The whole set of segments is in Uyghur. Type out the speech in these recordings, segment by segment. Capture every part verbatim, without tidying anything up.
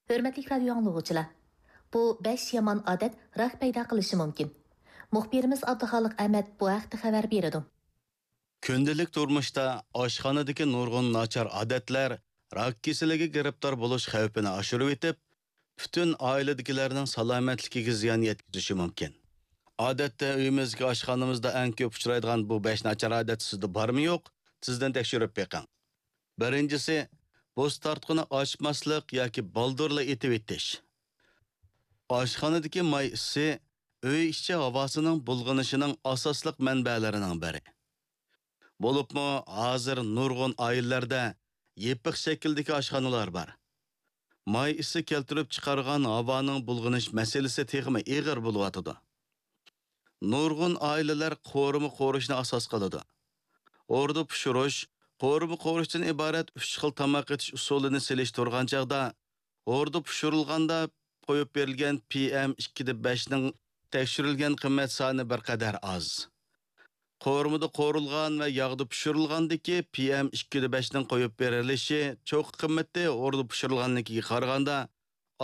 ھۆرمەتلىك رادىيو ئاڭلىغۇچىلار، بۇ بەش يامان ئادەت راك پەيدا قىلىشى مۇمكىن. مۇخبىرىمىز ئابدۇخالىق ئەمەت بۇ ھەقتە خەۋەر بېرىدۇ. كۈندىلىك تۇرمۇشتا ئاشخانىدىكى نۇرغۇن ناچار ئادەتلەر راك كېسىلىگە گىرىپتار بولۇش خەۋپىنى ئاشۇرۇۋېتىپ، پۈتۈن ئائىلىدىكىلەرنىڭ سالامەتلىكىگە زىيان يەتكۈزۈشى مۇمكىن. ئادەتتە ئۆيىمىزدىكى ئاشخانىمىزدا ئەڭ كۆپ ئۇچرايدىغان بۇ بەش ناچار ئادەت سىزدە بارمۇ يوق؟ تېزدىن تەكشۈرۈپ بېقىڭ. بىرىنچىسى، بۇس تارتقۇنى ئاچماسلىق ياكى بالدۇرلا ئېتىۋېتىش. ئاشخانىدىكى ماي ئىسى ئۆي ئىچى ھاۋاسىنىڭ بۇلغىنىشىنىڭ ئاساسلىق مەنبەلىرىنىڭ بىرى. بولۇپمۇ ھازىر نۇرغۇن ئائىلىلەردە يېپىق شەكىلدىكى ئاشخانىلار بار. ماي ئىسى كەلتۈرۈپ چىقارغان ھاۋانىڭ بۇلغىنىش مەسىلىسى تېخىمۇ ئېغىر بولۇۋاتىدۇ. نۇرغۇن ئائىلىلەر قورۇما قورۇشنى ئاساس قىلىدۇ. ھوردا پىشۇرۇش، قورۇما قورۇشتىن ئىبارەت ئۈچ خىل تاماق ئېتىش ئۇسۇلىنى سېلىشتۇرغان چاغدا، ھوردا پىشۇرۇلغاندا قويۇپ بېرىلگەن پىئېم ئىككىدە بەشنىڭ تەكشۈرۈلگەن قىممەت سانى بىر قەدەر ئاز. قورۇمىدا قورۇلغان ۋە ياغدا پىشۇرۇلغاندىكى پىئېم ئىككىدە بەشنىڭ قويۇپ بېرىلىشى چوققا قىممىتى ھوردا پىشۇرۇلغاننىڭكىگە قارىغاندا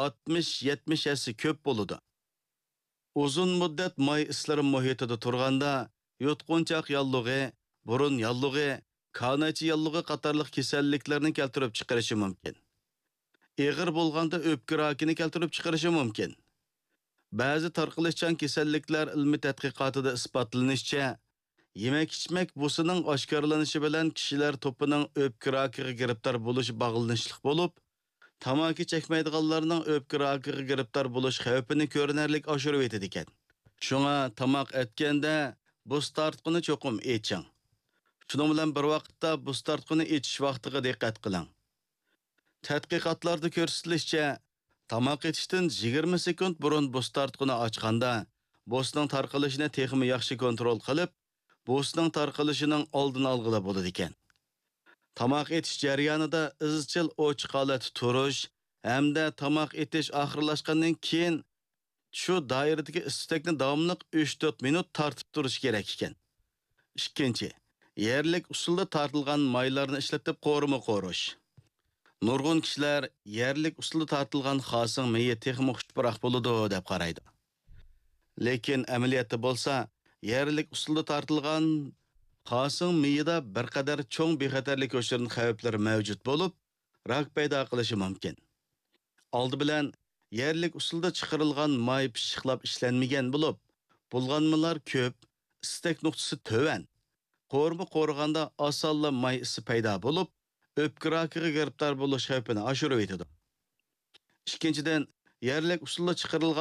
ئاتمىش، يەتمىش ھەسسە كۆپ بولىدۇ. ئۇزۇن مۇددەت ماي ئىسلىرى مۇھىتىدا تۇرغاندا، يۇتقۇنچاق ياللۇغى، بۇرۇن ياللۇغى، كانايچە ياللۇغى قاتارلىق كېسەللىكلەرنى كەلتۈرۈپ چىقىرىشى مۇمكىن. ئېغىر بولغاندا ئۆپكە راكىنى كەلتۈرۈپ چىقىرىشى مۇمكىن. بەزى تارقىلىشچان كېسەللىكلەر ئىلمىي تەتقىقاتىدا ئىسپاتلىنىشىچە، يېمەك-ئىچمەك بۇسىنىڭ ئاشكارىلىنىشى بىلەن كىشىلەر توپىنىڭ ئۆپكە راكىغا گىرىپتار بولۇشى باغلىنىشلىق بولۇپ، تاماكا چەكمەيدىغانلارنىڭ ئۆپكە راكىغا گىرىپتار بولۇش خەۋپىنى كۆرۈنەرلىك ئاشۇرۇۋېتىدىكەن. شۇڭا تاماق ئەتكەندە بۇس تارتقۇنى چوقۇم ئېچىڭ. شۇنىڭ بىلەن بىر ۋاقىتتا بۇس تارتقۇنى ئېچىش ۋاقتىغا دىققەت قىلىڭ. تەتقىقاتلاردا كۆرسىتىلىشىچە، تاماق ئېتىشتىن يىگىرمە سېكۇنت بۇرۇن بۇس تارتقۇنى ئاچقاندا، بۇسنىڭ تارقىلىشىنى تېخىمۇ ياخشى كونترول قىلىپ، بۇسنىڭ تارقىلىشىنىڭ ئالدىنى ئالغىلى بولىدىكەن. تاماق ئېتىش جەريانىدا ئىزچىل ئوچۇق ھالەتتە تۇرۇش ھەمدە تاماق ئېتىش ئاخىرلاشقاندىن كېيىن شۇ دائىرىدىكى ئىس-تۈتەكنى داۋاملىق ئۈچ تۆت مىنۇت تارتىپ تۇرۇش كېرەك ئىكەن. ئىككىنچى، يەرلىك ئۇسۇلدا تارتىلغان مايلارنى ئىشلىتىپ قورۇما قورۇش. نۇرغۇن كىشىلەر يەرلىك ئۇسۇلدا تارتىلغان خاسىڭ مېيى تېخىمۇ خۇش پۇراق بولىدۇ دەپ قارايدۇ. لېكىن ئەمەلىيەتتە بولسا، يەرلىك ئۇسۇلدا تارتىلغان خاسىڭ مېيىدا بىر قەدەر چوڭ بىخەتەرلىك يوشۇرۇن خەۋپلىرى مەۋجۇت بولۇپ، راك پەيدا قىلىشى مۇمكىن. ئالدى بىلەن يەرلىك ئۇسۇلدا چىقىرىلغان ماي پىششىقلاپ ئىشلەنمىگەن بولۇپ، بۇلغانمىلار كۆپ، ئىستەك نۇقتىسى تۆۋەن. قورۇما قورۇغاندا ئاسانلا ماي ئىسى پەيدا بولۇپ، ئۆپكە راكىغا گىرىپتار بولۇش خەۋپىنى ئاشۇرۇۋېتىدۇ. ئىككىنچىدىن، يەرلىك ئۇسۇلدا چىقىرىلغان